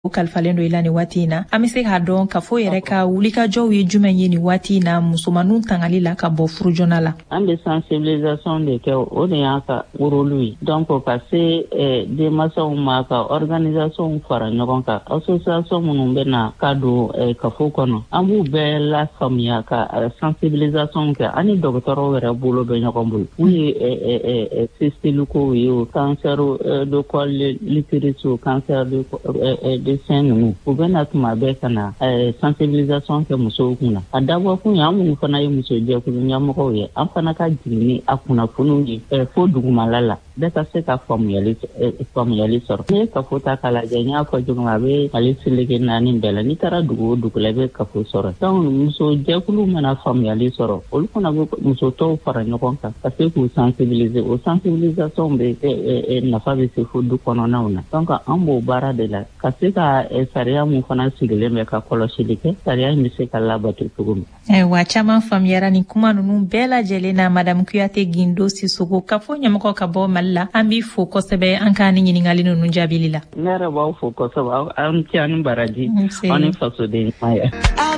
O kalifalen don i la nin waati in na. An bɛ se k'a dɔn kafo yɛrɛ ka wulikajɔw ye jumɛn ye nin waati in na musomanninw tangali la ka bɔ furu joona la? An bɛ sensibilisation de kɛ, o de y'an ka rôle ye. Donc ka se denmansaw ma, ka organisation fara ɲɔgɔn kan, association minnu bɛ na ka don kafo kɔnɔ, an b'u bɛɛ lafaamuya ka sensibilisation kɛ. An ni dɔgɔtɔrɔw yɛrɛ bolo bɛ ɲɔgɔn bolo, mun ye fistule kow ye, o cancer de col l'utérus, o cancer de sein ninnu, u bɛ na tuma bɛɛ ka na sensibilisation kɛ musow kunna. A dabɔ kun ye, an minnu fana ye muso jɛkulu ɲɛmɔgɔw ye, an fana ka jigin ni a kunnafoniw ye fo dugumala la, bɛɛ ka se ka faamuyali sɔrɔ. N'i ye kafo ta k'a lajɛ, n y'a fɔ cogo min, a bɛ Mali seleke naani bɛɛ la. N'i taara dugu o dugu la, i bɛ kafo sɔrɔ. Donc muso jɛkulu mana faamuyali sɔrɔ, olu fana bɛ muso tɔw fara ɲɔgɔn kan ka se k'u sensibiliser. O sensibilisation bɛ nafa bɛ se fo du kɔnɔnaw na. Donc an b'o baara de la ka se ka sariya mun fana sigilen bɛ ka kɔlɔsili kɛ, sariya in bɛ se ka labato cogo min. Ayiwa, caman faamuyara nin kuma ninnu bɛɛ lajɛlen na. Madame Kuyate Gindo Sisoko, kafo ɲɛmɔgɔ ka bɔ Mali la, an b'i fo kosɛbɛ an ka ni ɲininkali ninnu jaabili la. Ne yɛrɛ b'aw fo kosɛbɛ. Aw ni ce, aw ni baraji, aw ni fasoden ɲuman ye.